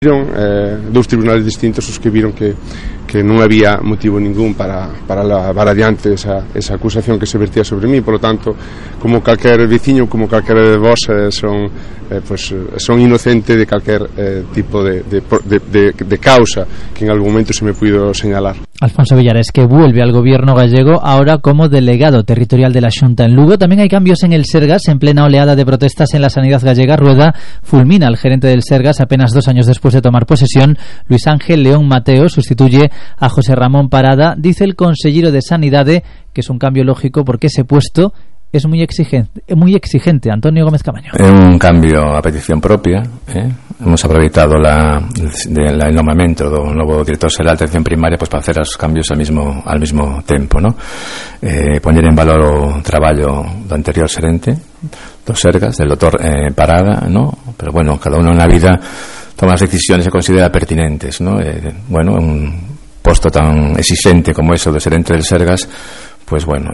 Dous tribunales distintos os que viron que non había motivo ningún para levar adiante esa acusación que se vertía sobre mí. Por lo tanto, como calquer veciño, como calquer de vos, son inocente de calquer tipo de causa que en algún momento se me pudo señalar. Alfonso Villares, que vuelve al gobierno gallego ahora como delegado territorial de la Xunta en Lugo. También hay cambios en el Sergas. En plena oleada de protestas en la sanidad gallega, Rueda fulmina al gerente del Sergas apenas 2 años después de tomar posesión. Luis Ángel León Mateo sustituye a José Ramón Parada. Dice el consellero de Sanidade que es un cambio lógico porque ese puesto es muy exigente. Antonio Gómez Camaño. É un cambio a petición propia. Hemos aproveitado el nomamento do novo director xeral de atención primaria para hacer os cambios al mismo tempo, ¿no? Poñer en valor o traballo do anterior xerente do Sergas, del doctor Parada, ¿no? Pero bueno, cada uno na vida toma as decisións que considera pertinentes, ¿no? Un posto tan exigente como eso de xerente del Sergas, pues bueno,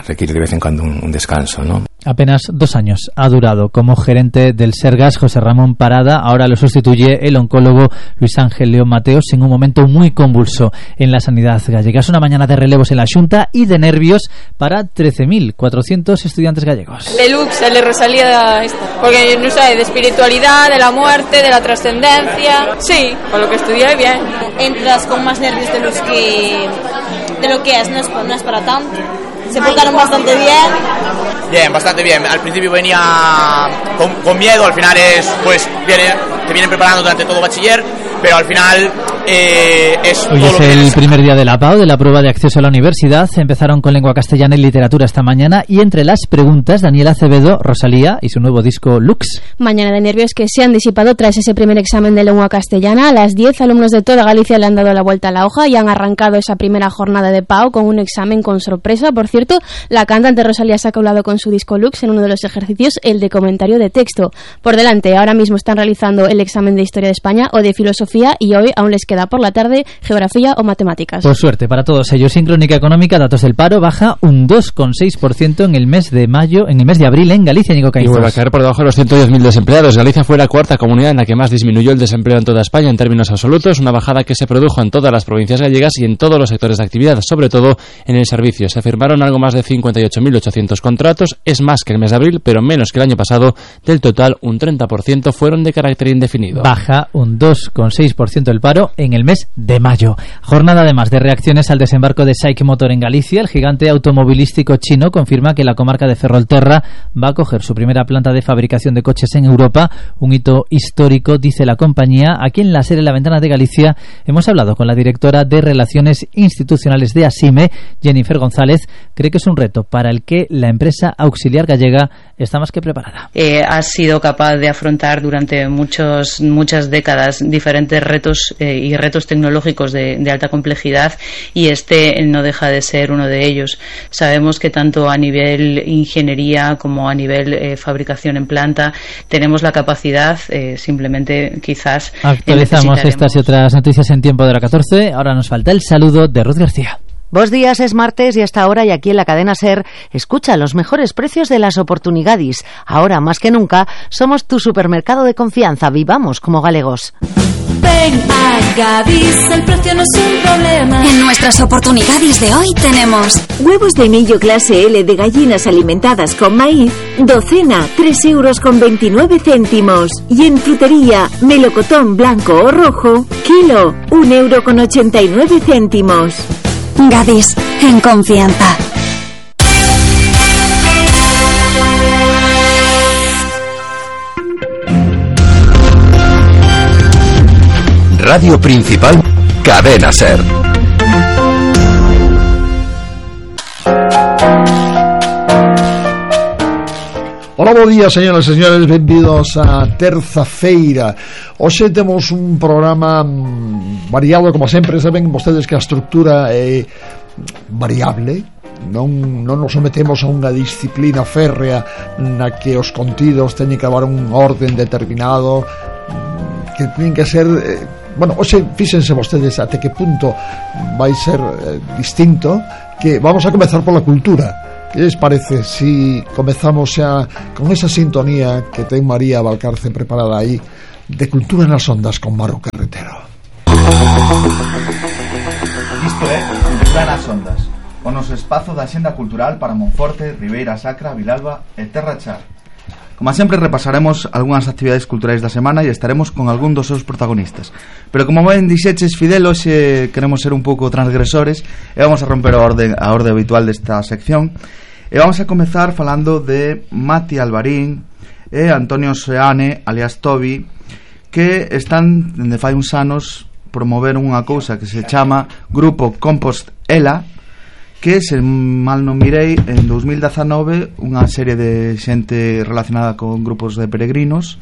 requiere de vez en cuando un descanso, ¿no? Apenas 2 años ha durado como gerente del Sergas José Ramón Parada. Ahora lo sustituye el oncólogo Luis Ángel León Mateos en un momento muy convulso en la sanidad gallega. Es una mañana de relevos en la Xunta y de nervios para 13.400 estudiantes gallegos. Lux, el de Rosalía, porque no sé, de espiritualidad, de la muerte, de la trascendencia. Sí, con lo que estudié bien. Entras con más nervios de lo que es, no es para tanto. Se portaron bastante bien. Bien, bastante bien. Al principio venía con miedo, al final te vienen preparando durante todo bachiller, pero al final Hoy es el primer día de la PAU, de la prueba de acceso a la universidad. Empezaron con lengua castellana y literatura esta mañana, y entre las preguntas, Daniela Acevedo, Rosalía y su nuevo disco Lux. Mañana de nervios que se han disipado tras ese primer examen de lengua castellana. A las 10 alumnos de toda Galicia le han dado la vuelta a la hoja y han arrancado esa primera jornada de PAU con un examen con sorpresa. Por cierto, la cantante Rosalía se ha colado con su disco Lux en uno de los ejercicios, el de comentario de texto. Por delante, ahora mismo están realizando el examen de Historia de España o de Filosofía, y hoy aún les queda por la tarde Geografía o Matemáticas. Por suerte para todos ellos. En Crónica Económica, datos del paro, baja un 2,6% en el mes de abril en Galicia. Nico Caizos. Y vuelve a caer por debajo de los 110.000 desempleados. Galicia fue la cuarta comunidad en la que más disminuyó el desempleo en toda España en términos absolutos, una bajada que se produjo en todas las provincias gallegas y en todos los sectores de actividad, sobre todo en el servicio. Se firmaron algo más de 58.800 contratos, es más que el mes de abril, pero menos que el año pasado. Del total, un 30% fueron de carácter indefinido. Baja un 2,6% el paro en el mes de mayo. Jornada además de reacciones al desembarco de SAIC Motor en Galicia. El gigante automovilístico chino confirma que la comarca de Ferrolterra va a coger su primera planta de fabricación de coches en Europa, un hito histórico, dice la compañía. Aquí en la serie La Ventana de Galicia hemos hablado con la directora de Relaciones Institucionales de ASIME, Jennifer González. Cree que es un reto para el que la empresa auxiliar gallega está más que preparada. Ha sido capaz de afrontar durante muchas décadas diferentes retos y retos tecnológicos de alta complejidad, y este no deja de ser uno de ellos. Sabemos que tanto a nivel ingeniería como a nivel fabricación en planta tenemos la capacidad, simplemente quizás actualizamos estas y otras noticias en tiempo de la 14. Ahora nos falta el saludo de Ruth García. Buenos días, es martes y hasta ahora, y aquí en la cadena SER, escucha los mejores precios de las oportunidades. Ahora más que nunca somos tu supermercado de confianza. Vivamos como galegos. Ven a Gadis, el precio no es un problema. En nuestras oportunidades de hoy tenemos huevos de millo clase L de gallinas alimentadas con maíz, docena 3,29 €. Y en frutería, melocotón blanco o rojo, kilo 1,89 €. Gadis, en confianza. Radio Principal, Cadena SER. Hola, bo día, señoras e señores, benvidos a terza feira. Hoxe temos un programa variado, como sempre. Saben vostedes que a estructura é variable. Non nos sometemos a unha disciplina férrea na que os contidos teñen que dar un orden determinado, que teñen que ser... hoxe fíxense vostedes até que punto vai ser distinto, que vamos a comezar pola cultura. Que les parece si comezamos xa con esa sintonía que ten María Valcarce preparada aí, de Cultura nas Ondas con Maru Carretero. Isto é Cultura nas Ondas, o noso espazo da xenda cultural para Monforte, Ribeira Sacra, Vilalba e Terra Char. Como sempre repasaremos algunhas actividades culturais da semana e estaremos con algún dos seus protagonistas. Pero como ben dixeches, Fidel, hoxe queremos ser un pouco transgresores e vamos a romper a orde habitual desta sección. E vamos a comezar falando de Mati Alvarín e Antonio Seane, alias Tobi, que están, dende fai uns anos, promover unha cousa que se chama Grupo Compost Ela, que, se mal non mirei, en 2019 unha serie de xente relacionada con grupos de peregrinos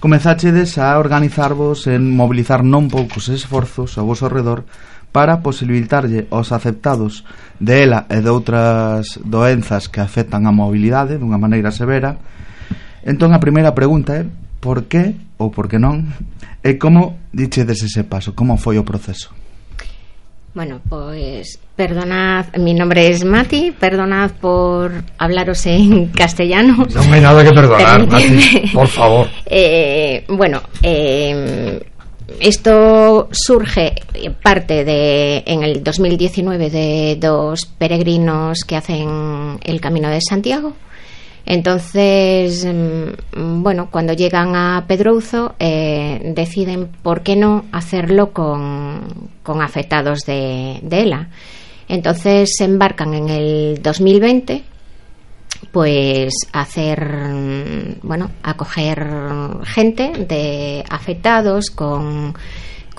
comezáchedes a organizarvos en mobilizar non poucos esforzos ao vosso redor para posibilitarlle aos aceptados de ELA e de outras doenzas que afectan a mobilidade dunha maneira severa. Entón a primeira pregunta é por que ou por que non, e como dichedes ese paso, como foi o proceso? Bueno, pues perdonad, mi nombre es Mati, perdonad por hablaros en castellano. No hay nada que perdonar, Mati, por favor. Esto surge parte en el 2019 de dos peregrinos que hacen el Camino de Santiago. Entonces, cuando llegan a Pedrouzo deciden por qué no hacerlo con afectados de ELA. Entonces se embarcan en el 2020 pues acoger gente de afectados con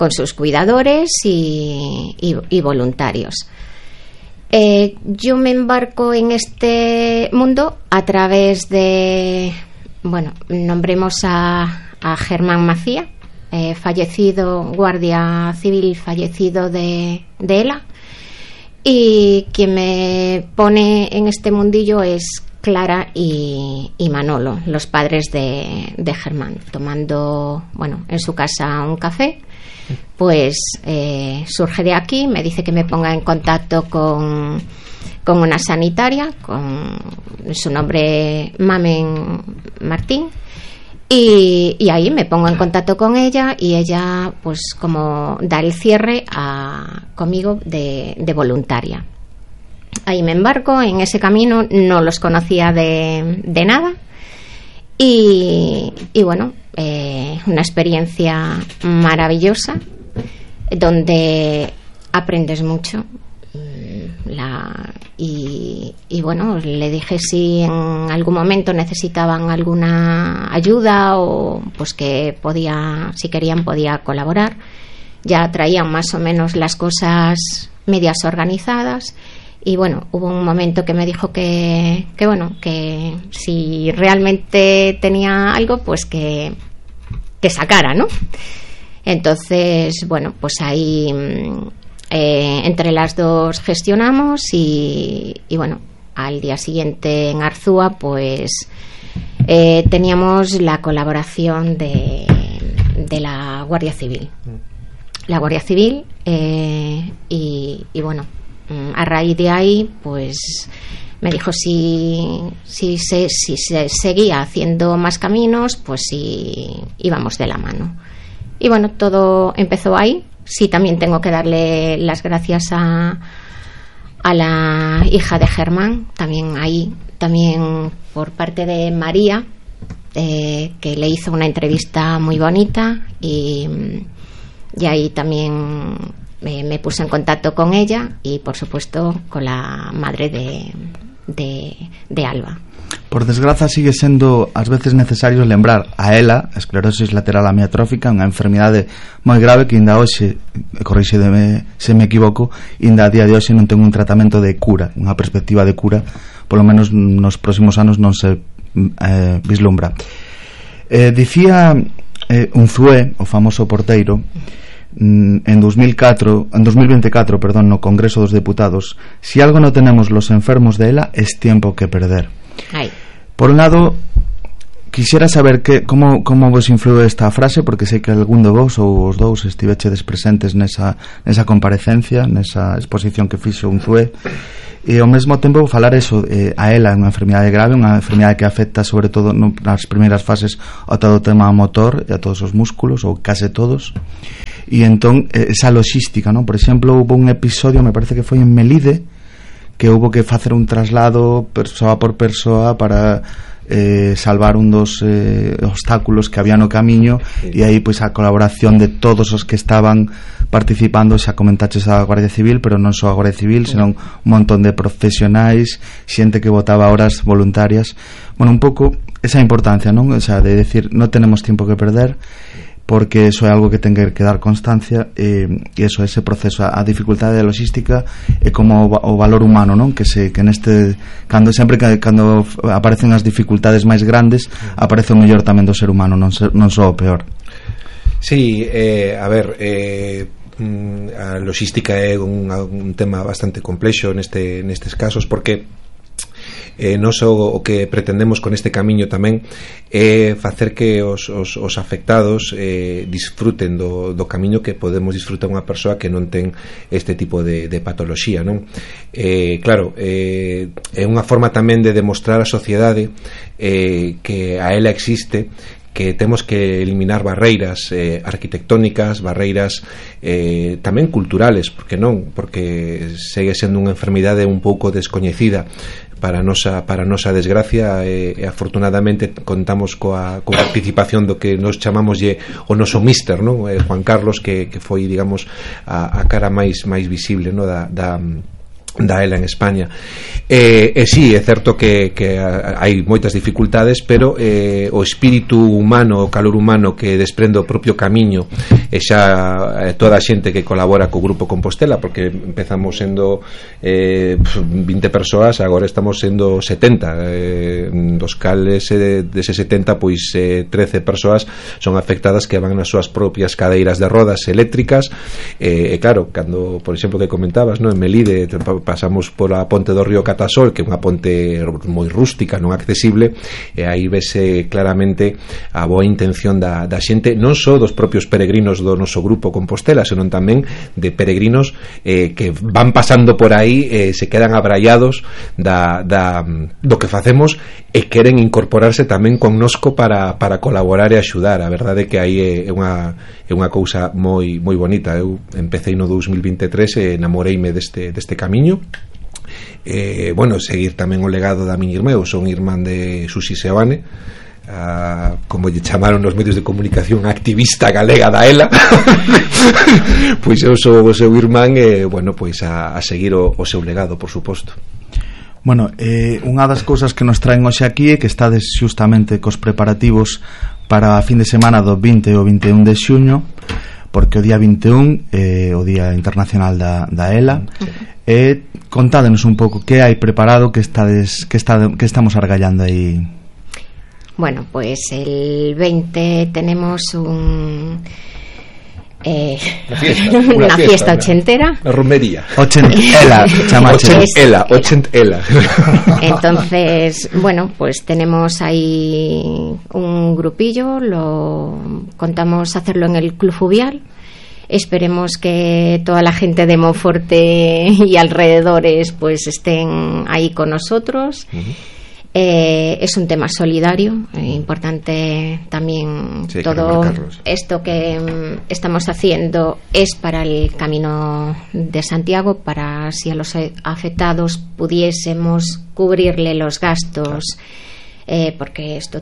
sus cuidadores y voluntarios. Yo me embarco en este mundo a través de, nombremos a Germán Macía, fallecido, guardia civil fallecido de ELA, y quien me pone en este mundillo es Clara y Manolo, los padres de Germán, tomando, en su casa un café. Pues surge de aquí, me dice que me ponga en contacto con una sanitaria, con su nombre Mamen Martín, y ahí me pongo en contacto con ella, y ella pues como da el cierre conmigo de voluntaria. Ahí me embarco en ese camino, no los conocía de nada, y una experiencia maravillosa donde aprendes mucho. Le dije si en algún momento necesitaban alguna ayuda o pues que si querían podía colaborar. Ya traían más o menos las cosas medias organizadas. Y hubo un momento que me dijo que si realmente tenía algo, pues que sacara, ¿no? Entonces, pues ahí entre las dos gestionamos y al día siguiente en Arzúa, pues teníamos la colaboración de la Guardia Civil. La Guardia Civil a raíz de ahí pues me dijo si se seguía haciendo más caminos, pues si íbamos de la mano. Y todo empezó ahí. Sí, también tengo que darle las gracias a la hija de Germán, también por parte de María, que le hizo una entrevista muy bonita, y ahí también me puse en contacto con ella y por supuesto con la madre de Alba. Por desgraza sigue sendo ás veces necesario lembrar a ELA, a esclerosis lateral amiotrófica, unha enfermidade moi grave que inda hoxe, corríxedeme se me equivoco, inda a día de hoxe non ten un tratamento de cura, unha perspectiva de cura, polo menos nos próximos anos non se vislumbra. Dicía Unzué, o famoso porteiro, en 2024, no Congreso dos Deputados: si algo no tenemos los enfermos de ELA es tiempo que perder. Ay. Por un lado, Quixera saber como vos influiu esta frase, porque sei que algún de vos ou os dous estivechedes presentes nesa comparecencia, nesa exposición que fixo un CUE, e ao mesmo tempo falar eso, a ela é unha enfermidade grave, unha enfermidade que afecta sobre todo nas primeiras fases a todo o tema motor e a todos os músculos, ou case todos, e entón esa logística, non? Por exemplo, houve un episodio, me parece que foi en Melide, que houve que facer un traslado persoa por persoa para salvar un dos obstáculos que había no camiño, e aí pois a colaboración de todos os que estaban participando, xa comentaches a Guardia Civil, pero non só a Guardia Civil, senón un montón de profesionais, xente que botaba horas voluntarias. Bueno, un pouco esa importancia, non? O sea, de decir, non tenemos tiempo que perder, porque eso é algo que ten que dar constancia, e eso, ese proceso, a dificultade da logística e como o valor humano, non? Que neste, cando aparecen as dificultades máis grandes, aparece o mellor tamén do ser humano, non só o peor. Sí, a ver, a logística é un tema bastante complexo nestes casos, porque non só o que pretendemos con este camiño tamén é facer que os afectados disfruten do camiño que podemos disfrutar unha persoa que non ten este tipo de patoloxía, non? Claro, é unha forma tamén de demostrar á sociedade que a ela existe, que temos que eliminar barreiras arquitectónicas, barreiras tamén culturales, porque non? Porque segue sendo unha enfermidade un pouco descoñecida para a nosa desgracia, e afortunadamente contamos coa participación do que nos chamamoslle o noso míster, non? Juan Carlos, que foi, digamos, a cara máis visible, non? da ela en España. Sí, é certo que hai moitas dificultades, pero o espírito humano, o calor humano que desprende o propio camiño, e xa toda a xente que colabora co Grupo Compostela, porque empezamos sendo 20 persoas, agora estamos sendo 70, dos cales dese 70, pois 13 persoas son afectadas que van nas súas propias cadeiras de rodas eléctricas, e claro, cando, por exemplo, que comentabas, non? En Melide pasamos pola ponte do río Catasol, que é unha ponte moi rústica, non accesible, e aí vese claramente a boa intención da xente, non só dos propios peregrinos do noso Grupo Compostela, senón tamén de peregrinos que van pasando por aí, se quedan abrallados do que facemos e queren incorporarse tamén connosco para colaborar e axudar. A verdade é que aí é unha cousa moi bonita. Eu empecé no 2023 e enamoreime deste camiño. Bueno, seguir tamén o legado da miña irmá. Eu son irmán de Susi Seoane, como lle chamaron nos medios de comunicación, activista galega da ELA. Pois eu sou o seu irmán, e bueno, pois a seguir o seu legado, por suposto. Bueno, unha das cousas que nos traen hoxe aquí é que estades xustamente cos preparativos para a fin de semana do 20 e o 21 de xuño, porque o día 21 é o Día Internacional da ELA. Contádenos un pouco que hai preparado, que estamos argallando aí. Bueno, pues el 20 tenemos una fiesta ochentera. La romería. Ochentela. Entonces, bueno, pues tenemos ahí un grupillo, contamos hacerlo en el Club Fluvial. Esperemos que toda la gente de Monforte y alrededores pues estén ahí con nosotros. Es un tema solidario, importante también. Sí, todo esto que estamos haciendo es para el Camino de Santiago, para si a los afectados pudiésemos cubrirle los gastos. Porque esto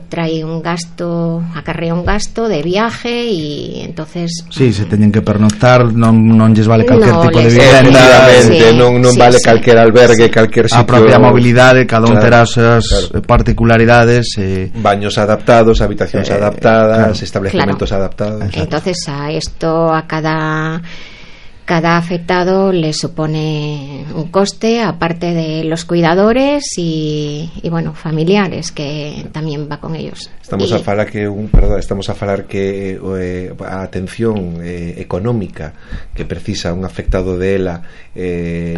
acarrea un gasto de viaje, y entonces sí, se teñen que pernoctar, non lles vale calquer tipo de vivenda, non vale calquer albergue, calquer sitio. A propia mobilidade, cada un terá as particularidades, baños adaptados, habitacións adaptadas, establecementos adaptados. Entonces a esto, a cada afectado le supone un coste, aparte de los cuidadores y bueno, familiares, que también va con ellos. Estamos a falar que a atención económica que precisa un afectado de ELA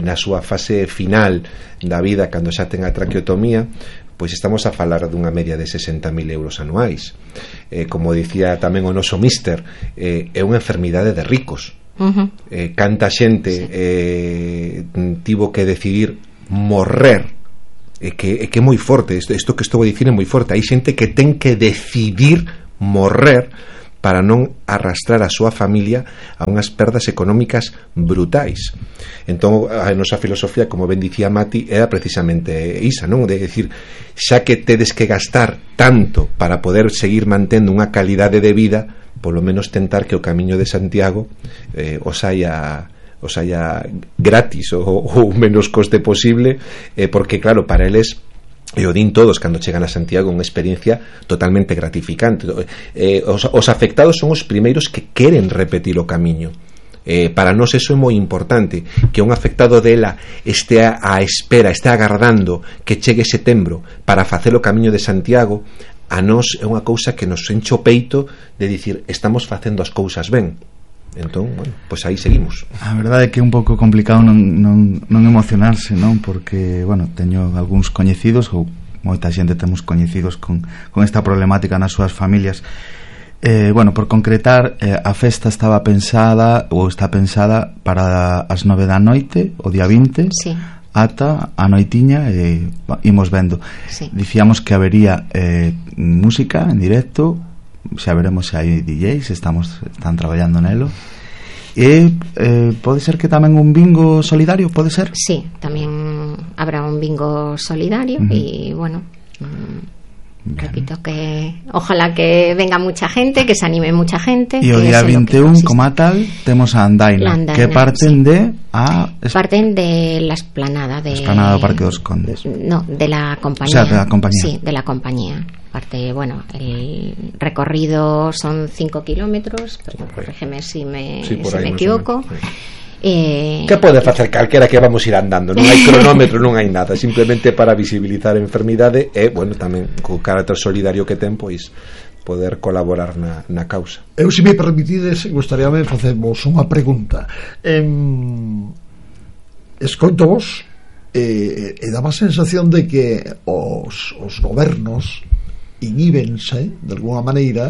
na súa fase final da vida, cando xa ten a traqueotomía, pois estamos a falar dunha media de 60.000 euros anuais. Como dicía tamén o noso míster, é unha enfermidade de ricos. Canta xente tivo que decidir morrer, que é moi forte isto que estou a dicir, é moi forte. Hai xente que ten que decidir morrer para non arrastrar a súa familia a unhas perdas económicas brutais. Entón a nosa filosofía, como ben dicía Mati, era precisamente isa, non? De decir, xa que tedes que gastar tanto para poder seguir mantendo unha calidade de vida, polo menos tentar que o Camiño de Santiago os haya gratis ou menos coste posible, porque claro, para eles, e o din todos cando chegan a Santiago, unha experiencia totalmente gratificante. Os afectados son os primeiros que queren repetir o camiño. Para nós eso é moi importante, que un afectado dela este á espera, este agardando que chegue setembro para facer o Camiño de Santiago. A nós é unha cousa que nos enche o peito de dicir, estamos facendo as cousas ben. Entón, bueno, pois aí seguimos. A verdade é que é un pouco complicado non emocionarse, non? Porque, bueno, teño algúns coñecidos, ou moita xente temos coñecidos con esta problemática nas súas familias. Bueno, por concretar, a festa estaba pensada, ou está pensada para as 9 da noite, o día 20, sí, ata a noitiña, imos vendo. Sí. Dicíamos que habería música en directo, xa veremos se hai DJs, están traballando nelo. E pode ser que tamén un bingo solidario, pode ser? Sí, tamén habrá un bingo solidario. E bueno, repito que ojalá que venga mucha gente, que se anime mucha gente. E o día 21, como tal, temos a Andaina, que parten parten de la esplanada do Parque dos Condes. No, de la compañía. O sea, de la compañía. Sí, de la compañía. Parte, bueno, el recorrido son 5 kilómetros, pero corrígeme si me equivoco. Que pode facer calquera que vamos ir andando, non hai cronómetro, non hai nada, simplemente para visibilizar a enfermidade e, bueno, tamén co carácter solidario que ten, pois poder colaborar na causa. Eu, se me permitides, gustaríame facervos unha pregunta. Escoito vos e daba a sensación de que os gobernos inhíbense de alguna maneira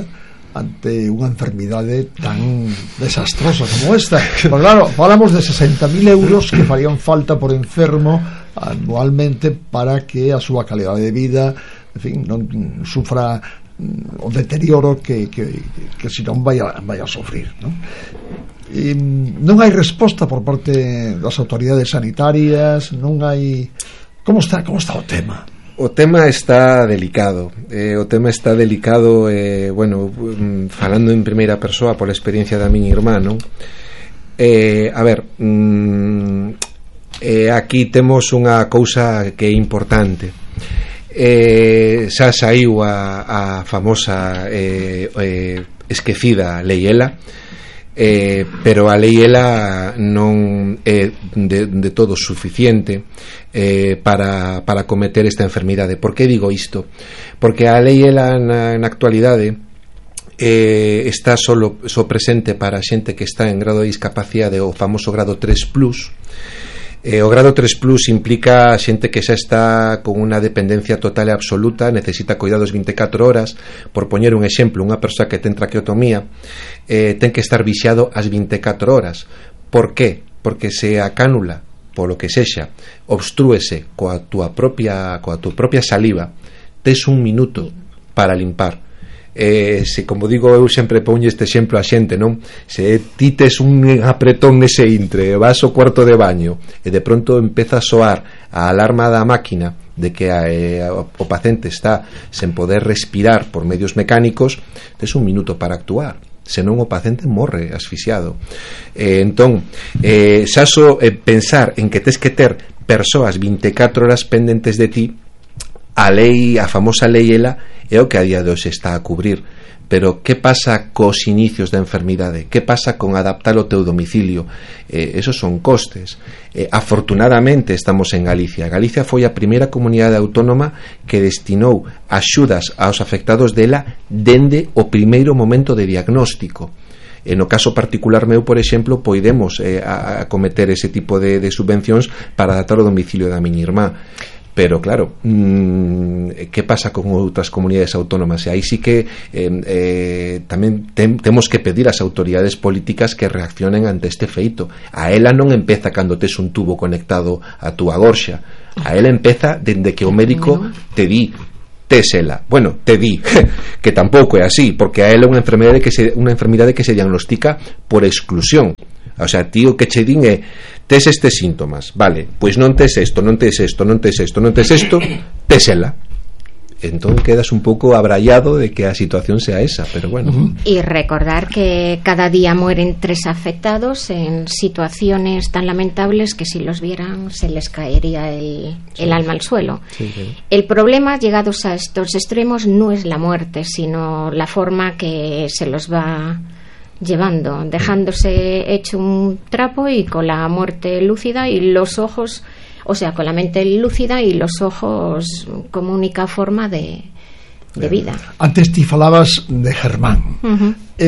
ante unha enfermidade tan desastrosa como esta. Pero claro, falamos de 60.000 euros que farían falta por enfermo anualmente para que a súa calidade de vida, en fin, non sufra o deterioro que senón vai a sofrir, non? E non hai resposta por parte das autoridades sanitarias, non hai... Como está o tema? O tema está delicado. Bueno, falando en primeira persoa pola experiencia da miña irmá, non? A ver, aquí temos unha cousa que é importante. Xa saiu a famosa esquecida Lei Ela, pero a Lei Ela non é de todo suficiente para cometer esta enfermidade. Por que digo isto? Porque a Lei Ela na actualidade está só presente para xente que está en grado de discapacidade, o famoso grado 3+. O grado 3+ implica xente que xa está con unha dependencia total e absoluta, necesita cuidados 24 horas. Por poñer un exemplo, unha persoa que ten traqueotomía ten que estar vixiado as 24 horas. Por qué? Porque se a cánula, polo que sexa, obstrúese coa tua propia saliva, tes un minuto para limpar. Se, como digo, eu sempre poño este exemplo a xente, non? Se ti tes un apretón nese intre, vas ao cuarto de baño e de pronto empeza a soar a alarma da máquina de que o paciente está sen poder respirar por medios mecánicos, tes un minuto para actuar, senón o paciente morre asfixiado. Entón, xa só pensar en que tes que ter persoas 24 horas pendentes de ti, a famosa Lei Ela é o que a día de hoxe está a cubrir. Pero que pasa cos inicios da enfermidade? Que pasa con adaptar o teu domicilio? Esos son costes. Afortunadamente estamos en Galicia. Galicia foi a primeira comunidade autónoma que destinou axudas aos afectados dela dende o primeiro momento de diagnóstico. No caso particular meu, por exemplo, podemos acometer ese tipo de subvencións para adaptar o domicilio da miña irmá. pero claro, que pasa con outras comunidades autónomas? E aí sí que tamén temos que pedir ás autoridades políticas que reaccionen ante este feito. A ela non empeza cando tes un tubo conectado a túa gorxa, a ela empeza dende que o médico te di tésela. Bueno, te di que tampouco é así, porque a ela é unha enfermidade que se diagnostica por exclusión. O sea, tío, que che din é tes estes síntomas, vale, pois non tes isto, non tes isto, non tes isto, non tes isto, tésela. Entón quedas un pouco abraiado de que a situación sea esa, pero bueno. Y recordar que cada día mueren 3 afectados en situaciones tan lamentables que si los vieran se les caería el alma al suelo. Sí. El problema, llegados a estos extremos, no es la muerte, sino la forma que se los va llevando, dejándose hecho un trapo y con la muerte lúcida y los ojos, o sea, con la mente lúcida y los ojos como única forma de vida. Antes ti falabas de Germán,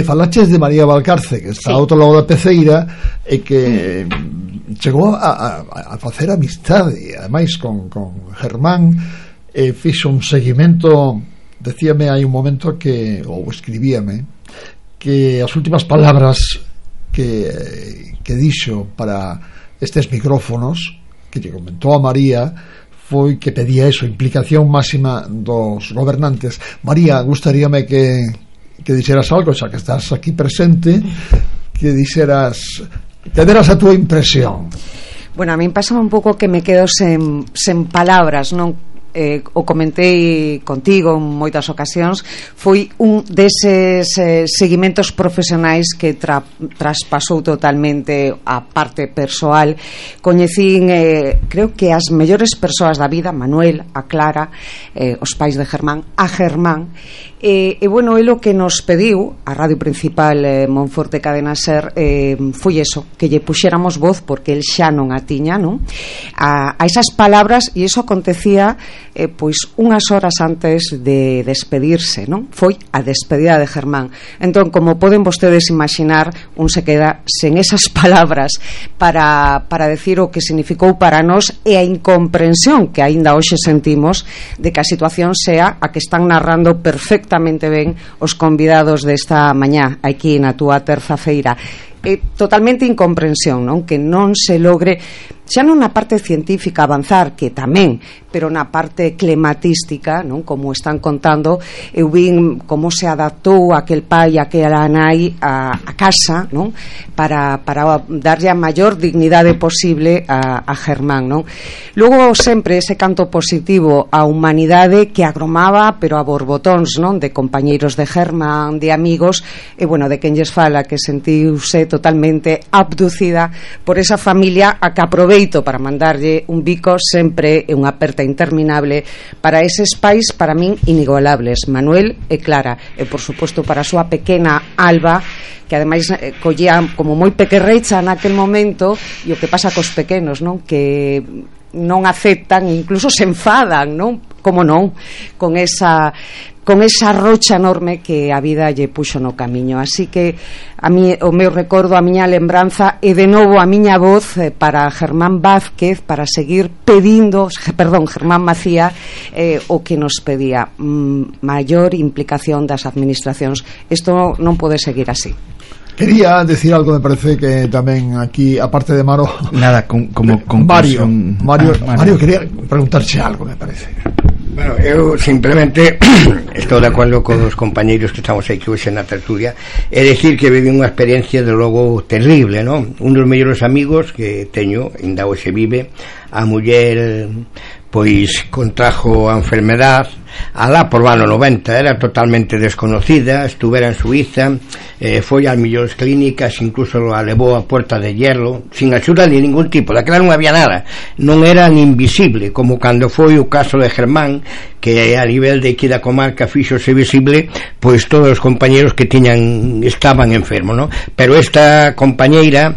falaches de María Valcarce, que está ao outro lado da peceira e que chegou a facer amistade, ademais con Germán, fixo un seguimento, decíame hai un momento que, ou escribíame, que as últimas palabras que dixo para estes micrófonos que lle comentou a María foi que pedía eso, implicación máxima dos gobernantes. María, gustaríame que dixeras algo, xa que estás aquí presente, que dixeras, que deras a túa impresión. Bueno, a mí pásame un pouco que me quedo sen palabras, non? O comentei contigo en moitas ocasións, foi un deses seguimentos profesionais que traspasou totalmente a parte persoal. Coñecín, creo que as mellores persoas da vida, Manuel, a Clara, os pais de Germán, a Germán, e bueno, é o que nos pediu a Radio Principal Monforte Cadena Ser, foi eso, que lle puxéramos voz, porque el xa non a tiña, non? A esas palabras, e iso acontecía pois unhas horas antes de despedirse, non? Foi a despedida de Germán. Entón, como poden vostedes imaginar, un se queda sen esas palabras para decir o que significou para nós e a incomprensión que aínda hoxe sentimos de que a situación sea a que están narrando perfectamente ben os convidados desta mañá aquí na túa terza feira. Totalmente incomprensión, non? Que non se logre xa non na parte científica avanzar, que tamén, pero na parte climatística, non? Como están contando, eu vin como se adaptou aquel pai e aquela nai a casa, non? Para darlle a maior dignidade posible a Germán, non? Logo sempre ese canto positivo á humanidade que agromaba, pero a borbotóns, non? De compañeiros de Germán, de amigos, e bueno, de quen lles fala que sentiuse totalmente abducida por esa familia a que aproveito para mandarlle un bico sempre e unha aperta interminable para eses pais, para min inigualables, Manuel e Clara, e por suposto para a súa pequena Alba, que ademais collía como moi pequerrecha naquel momento, e o que pasa cos pequenos, non? Que non aceptan, incluso se enfadan, non? Como non? Con esa rocha enorme que a vida lle puxo no camiño. Así que a mí, o meu recordo, a miña lembranza e de novo a miña voz para Germán Vázquez, para seguir pedindo, Germán Macía, o que nos pedía, maior implicación das administracións. Isto non pode seguir así. Quería decir algo, me parece que tamén aquí, aparte de Maro, nada, como Mario quería preguntarse algo, me parece. Bueno, eu simplemente estou de acordo con os compañeiros que estamos aquí hoxe na tertulia, é dicir que vivi unha experiencia de logo terrible, non? Un dos mellores amigos que teño, ainda hoxe vive, a muller pois contrajo a enfermedad alá por o ano 90, era totalmente desconocida, estuvera en Suiza, foi ás millóns clínicas, incluso a levou a Puerta de Hierro sin axuda de ningún tipo, daquela non había nada, non era ni invisible, como cando foi o caso de Germán, que a nivel de aquí da comarca fíxose visible, pois todos os compañeros que estaban enfermos, non? Pero esta compañeira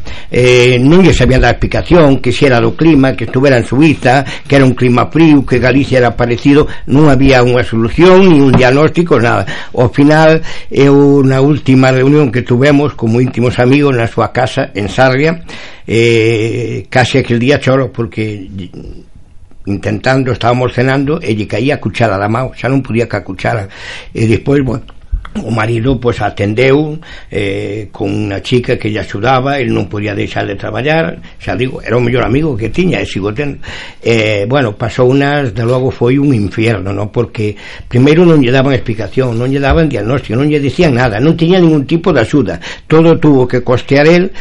non lle sabía dar explicación, que si era do clima, que estuvera en Suiza, que era un clima frío, que Galicia era parecido, non había unha solución, ni un diagnóstico, nada. Ao final, eu na última reunión que tuvemos como íntimos amigos na súa casa en Sarria, case aquel día choro porque intentando, estábamos cenando e lle caía a cuchara da mão, xa non podía ca cuchara, e despois, bueno, o marido pois atendeu con unha chica que lle axudaba, el non podía deixar de traballar, xa digo, era o mellor amigo que tiña e sigo tendo. Bueno, pasou unas, de logo foi un infierno, ¿no? Porque primeiro non lle daban explicación, non lle daban diagnóstico, non lle dicían nada, non tiña ningún tipo de axuda, todo tuvo que costear el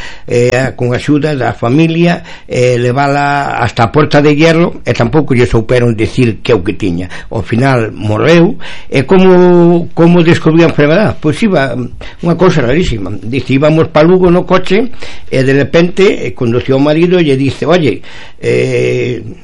con axuda da familia, levala hasta a Porta de Hierro, e tampouco lle souperon decir que o que tiña. Ao final morreu, e como descubrían enfermedad, pois iba unha cousa rarísima, dice, íbamos pa Lugo no coche e de repente condució o marido e lle dice, oye,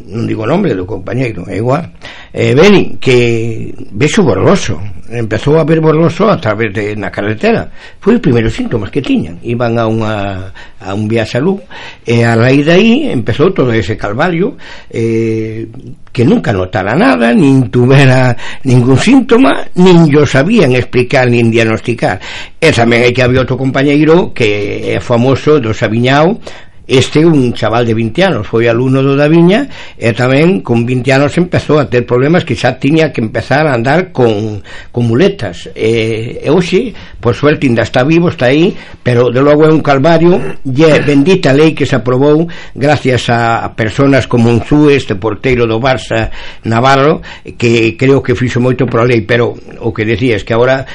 non digo o nombre do compañeiro, é igual, Beni, que vexo borroso, empezou a ver borroso a través de na carretera, foi os primeiros síntomas que tiñan, iban a un viaxe a Lugo, e a raíz de aí empezou todo ese calvario, que nunca notara nada, nin tuvera ningún síntoma, nin yo sabían explicar nin diagnosticar. E tamén hai que había outro compañeiro que é famoso do Sabiñao, un chaval de 20 anos foi alumno do da Viña e tamén con 20 anos empezou a ter problemas que xa tiña que empezar a andar con muletas, e hoxe por suerte ainda está vivo, está aí, pero de logo é un calvario, e bendita lei que se aprobou gracias a personas como Unzúe, este porteiro do Barça Navarro, que creo que fixo moito por a lei, pero o que decía é que agora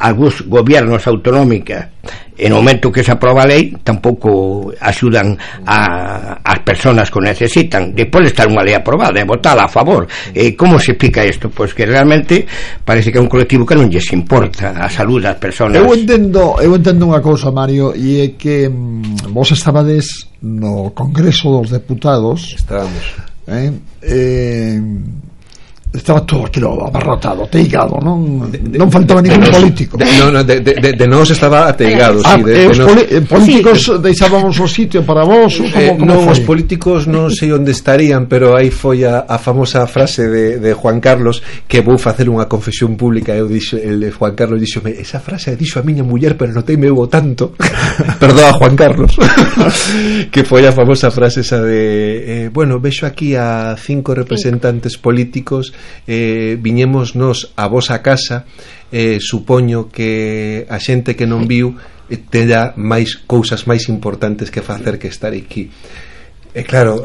algúns gobiernos autonómicas en o momento que se aproba a lei tampouco axudan as persoas que o necesitan, despois de estar unha lei aprobada e votada a favor. Como se explica isto? Pois que realmente parece que é un colectivo que non lles importa a saúde das persoas. Eu entendo unha cousa, Mario, e é que vos estabades no Congreso dos Deputados. Estábamos. Estaba todo aquilo abarrotado, ateigado, non faltaba ningún político. De nós estaba ateigado, políticos deixábamos o sitio para vos, non, os políticos non sei onde estarían, pero aí foi a famosa frase de Juan Carlos, que vou facer unha confesión pública, Juan Carlos dixome, esa frase dixo a miña muller, pero notei me hubo tanto perdoa Juan Carlos que foi a famosa frase esa de bueno, vexo aquí a 5 representantes políticos, viñemos nos a vosa casa, supoño que a xente que non viu teña máis cousas máis importantes que facer que estar aquí. Claro,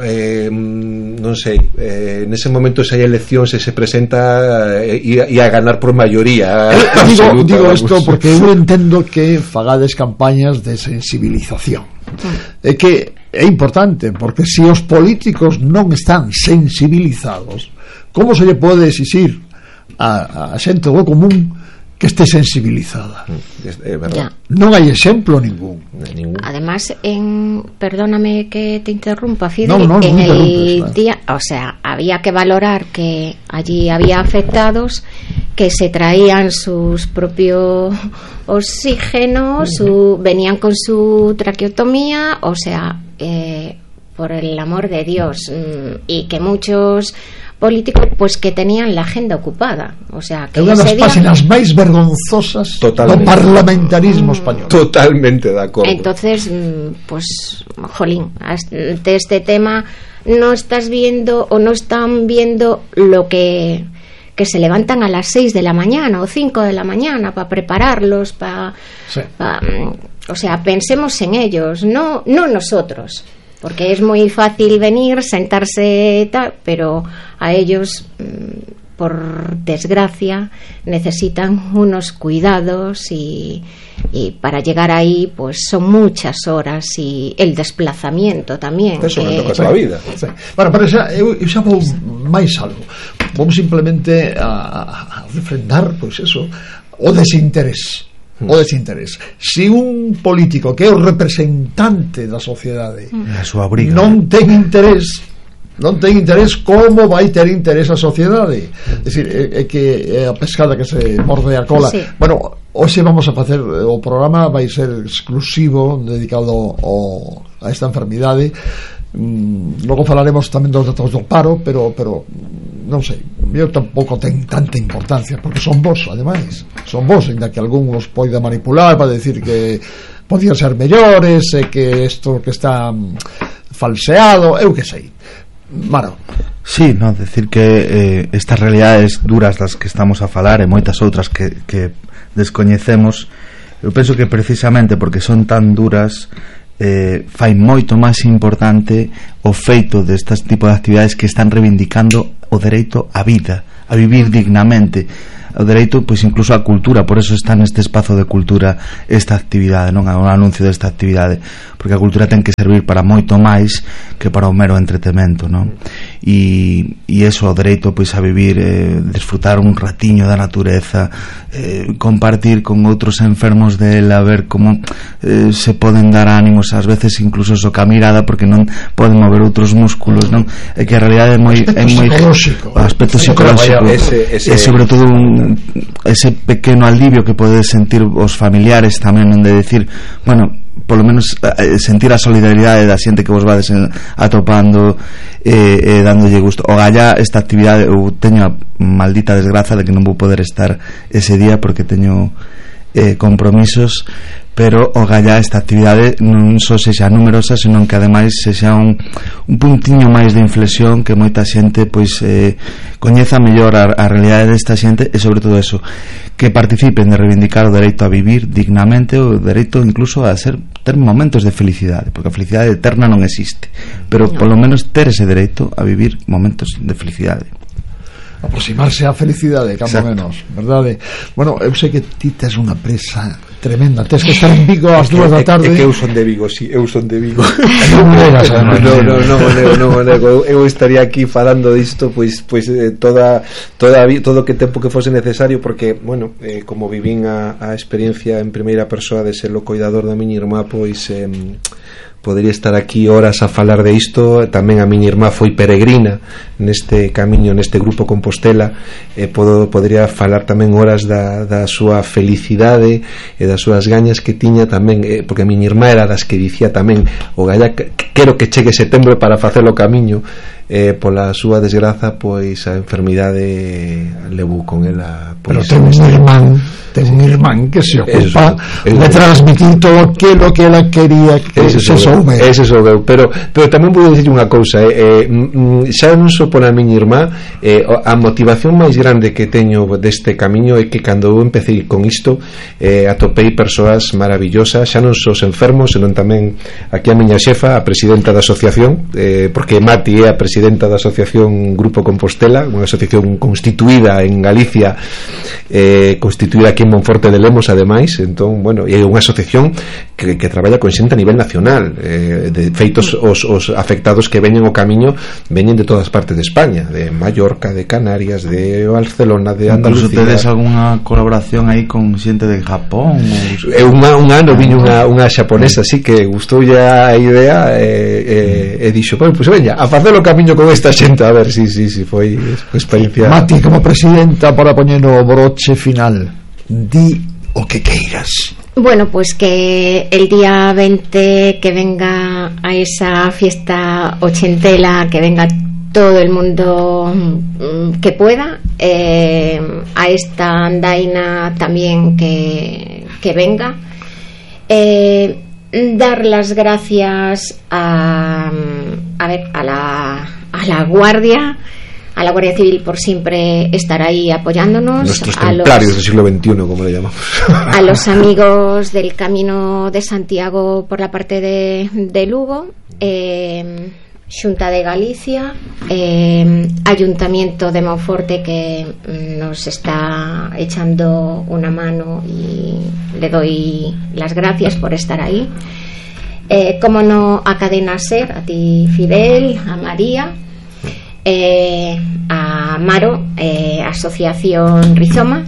non sei, nese momento se hai eleccións se presenta e a ganar por maioría digo isto porque eu entendo que fagades campañas de sensibilización, é que é importante, porque se os políticos non están sensibilizados, como se lle pode exixir a xente do común que esté sensibilizada? Non hai exemplo ningún. Además, perdóname que te interrumpa, Fide, en el día, o sea, había que valorar que allí había afectados que se traían sus propios oxígenos, venían con su traqueotomía, o sea, por el amor de Dios, y que muchos políticos pues que tenían la agenda ocupada, o sea, que é unha das páxinas máis vergonzosas do parlamentarismo español. Totalmente de acordo. Entonces, pues jolín, de este tema no estás viendo o no están viendo lo que se levantan a las 6 de la mañana o 5 de la mañana para prepararlos, o sea, pensemos en ellos, no nosotros, porque es muy fácil venir, sentarse tal, pero a ellos, por desgracia, necesitan unos cuidados y para llegar ahí pues son muchas horas y el desplazamiento tamén. Eso me toca toda a vida. Bueno, pero eu xa vou máis algo. Vamos simplemente a refrendar pois eso, o desinterés. Se un político que é o representante da sociedade non ten interés, como vai ter interés a sociedade? É dicir, é que a pescada que se morde a cola. Bueno, hoxe vamos a facer o programa, vai ser exclusivo dedicado a esta enfermidade. Logo falaremos tamén dos datos do paro, pero non sei, eu tampouco ten tanta importancia, porque son vos, ademais son vos, ainda que algún os poida manipular para decir que podían ser mellores, que isto que está falseado, eu que sei. Maro. Sí, no, decir que estas realidades duras das que estamos a falar e moitas outras que descoñecemos, eu penso que precisamente porque son tan duras fai moito máis importante o feito destas tipo de actividades que están reivindicando o dereito á vida, a vivir dignamente, o dereito, pois incluso á cultura. Por eso está neste espazo de cultura esta actividade, non? O anuncio desta actividade, porque a cultura ten que servir para moito máis que para o mero entretemento, non? E eso, o dereito pois a vivir, desfrutar un ratiño da natureza, compartir con outros enfermos dela, ver como se poden dar ánimos, ás veces incluso so ca mirada, porque non poden mover outros músculos, non? É que a realidade é moi o aspecto psicolóxico e sobre todo ese pequeno alivio que podes sentir os familiares tamén, de decir, bueno, polo menos sentir a solidaridade da xente que vos vades atopando e dándolle gusto. O galla esta actividade, eu teño a maldita desgraza de que non vou poder estar ese día porque teño compromisos, pero o galla esta actividade non só sexa numerosa, senón que ademais sexa un puntiño máis de inflexión, que moita xente pois coñeza mellor a realidade desta xente, e sobre todo eso, que participen de reivindicar o dereito a vivir dignamente, o dereito incluso a ter momentos de felicidade, porque a felicidade eterna non existe, pero polo menos ter ese dereito a vivir momentos de felicidade, aproximarse á felicidade, cando menos, verdade? Bueno, eu sei que ti tes unha presa tremenda, tes que estar en Vigo ás 2 da tarde. É que eu son de Vigo, sí, eu son de Vigo. Non mo nego, eu estaría aquí falando disto pois todo que tempo que fose necesario, porque, bueno, como vivín a experiencia en primeira persoa de ser o coidador da miña irmá, pois podería estar aquí horas a falar de isto. Tamén a miña irmá foi peregrina neste camiño, neste grupo Compostela, podería falar tamén horas da súa felicidade e das súas gañas que tiña tamén, porque a miña irmá era das que dicía tamén, o galla, quero que chegue setembro para facer o camiño, pola súa desgraza, pois a enfermidade levou con ela, pois, pero ten un irmán que se ocupa de transmitir todo aquilo que ela quería que se soume. Ese soubeu, pero tamén vou dicir unha cousa, xa non só por a miña irmá, a motivación máis grande que teño deste camiño é que cando eu empecé con isto atopei persoas maravillosas, xa non só os enfermos, senón tamén aquí a miña xefa, a presidenta da asociación, porque Mati é a presidenta da asociación Grupo Compostela, unha asociación constituída en Galicia, constituída aquí en Monforte de Lemos, ademais. Entón, bueno, é unha asociación que traballa con xente a nivel nacional, de feitos os afectados que veñen o camiño veñen de todas partes de España, de Mallorca, de Canarias, de Barcelona, de Andalucía. Incluso tedes algunha colaboración aí con xente de Japón? Un ano viño unha xaponesa así que gustou a idea e dixo, pois veña, a facer o camiño con esta xente, a ver, si foi experiencia. Mati, como presidenta, para poñer o broche final, di o que queiras. Bueno, pues que el día 20 que venga a esa fiesta ochentela, que venga todo el mundo que pueda, a esta andaina también que venga, dar las gracias a la Guardia, a la Guardia Civil por siempre estar ahí apoyándonos, nuestros templarios del siglo XXI, como le llamamos, a los amigos del Camino de Santiago por la parte de Lugo, Xunta de Galicia, Ayuntamiento de Monforte, que nos está echando una mano y le doy las gracias por estar ahí, como no, a Cadena Ser, a ti Fidel, a María, a Maro, Asociación Rizoma,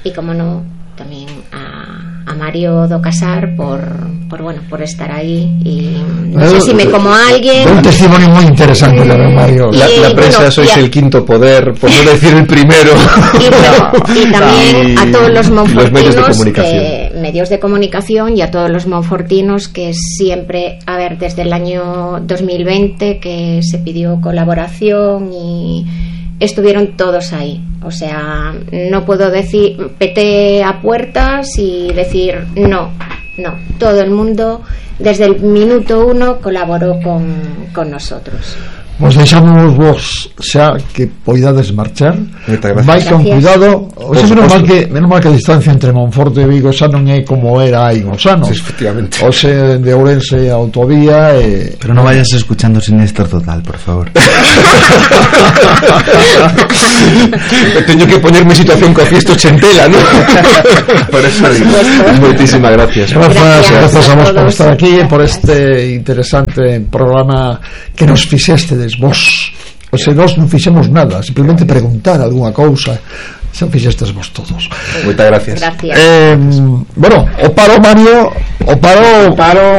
y como no también a Mario do Casar por estar ahí, y no sé si me como a alguien. Un testimonio muy interesante de Mario. La prensa sois el quinto poder, por no decir el primero. Y también a todos los monfortinos, medios de comunicación, y a todos los monfortinos que siempre, a ver, desde el año 2020 que se pidió colaboración y estuvieron todos ahí. O sea, no puedo decir peté a puertas y decir no, todo el mundo desde el minuto 1 colaboró con nosotros. Pues deixamos vos xa que poidades marchar. Vai con cuidado. O sea, menos mal que a distancia entre Monforte e Vigo xa non é como era hai uns anos. Efectivamente. O sea, de Ourense a autovía Pero no vayas escuchando Siniestro Total, por favor. Teño que ponerme situación co fiesto chentela, ¿no? Por eso digo. Moitísimas gracias. Gracias a vos por estar aquí, por este interesante programa que nos fixestes vos. O sea, nós non fixemos nada, simplemente preguntar algunha cousa. Xa fixestes vos todos. Moitas gracias. Bueno, o paro, Mario,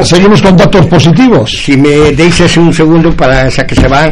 seguimos con datos positivos. Si me deixas un segundo para xa que se van,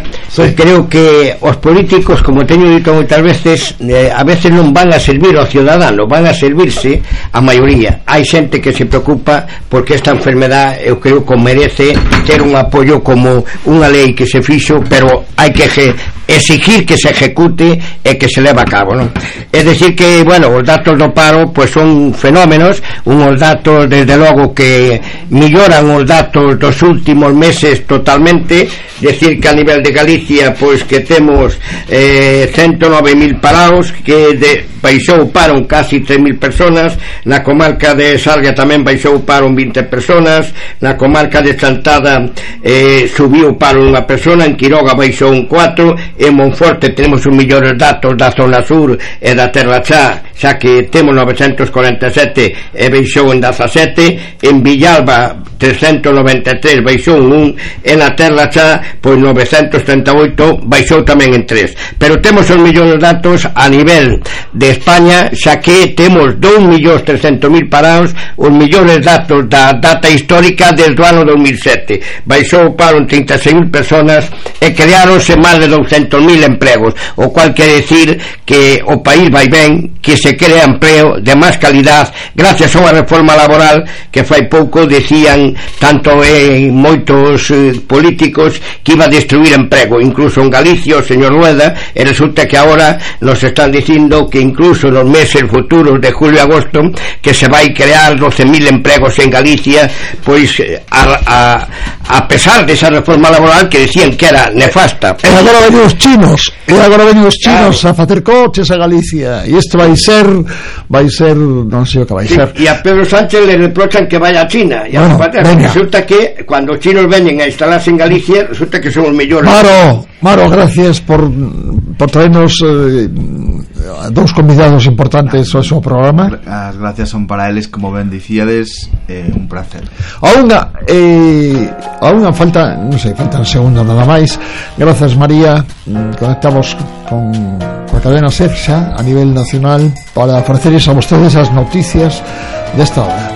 creo que os políticos, como teño dito moitas veces, a veces non van a servir aos ciudadanos, van a servirse a maioría. Hai xente que se preocupa porque esta enfermedad eu creo que merece ter un apoio como unha lei que se fixo, pero hai que exigir que se ejecute e que se leva a cabo, non? É decir que, bueno, os datos do paro pois son fenómenos, unhos datos desde logo que melloran os datos dos últimos meses totalmente, decir que a nivel de Galicia pois que temos 109.000 parados, que baixou o paro en casi 3.000 personas, na comarca de Sarga tamén baixou o paro en 20 personas, na comarca de Chantada subiu o paro unha persona, en Quiroga baixou un 4, en Monforte temos os mellores datos da zona sur e da Terra Chá, xa que temos 947 e baixou en 17, en Villalba 393 baixou en 1, e na Terra Chá pois 938 baixou tamén en 3, pero temos os mellores datos a nivel de España, xa que temos 2.300.000 parados, os mellores datos da data histórica desde o ano 2007, baixou o paro en 36.000 personas e creáronse máis de 200.000 empregos, o cual quere decir que o país vai ben, que se crea empleo de máis calidad gracias a unha reforma laboral que fai pouco decían tanto moitos políticos que iba a destruir emprego, incluso en Galicia o señor Rueda, e resulta que agora nos están dicindo que incluso nos meses futuros de julio e agosto que se vai crear 12.000 empregos en Galicia, pois a pesar desa reforma laboral que decían que era nefasta. E agora ven os chinos a facer coches a Galicia, e isto vai ser non sei o que vai ser. E a Pedro Sánchez le reprochan que vaya a China, e resulta que cuando os chinos veñen a instalarse en Galicia resulta que son os mellores. Maro, gracias por traernos dous convidados importantes ao seu programa. As gracias son para eles, como ben dicíades, un placer. Aún faltan segundos nada máis. Grazas, María. Conectamos con a cadena SER xa a nivel nacional para ofrecerles a vostedes as noticias desta hora.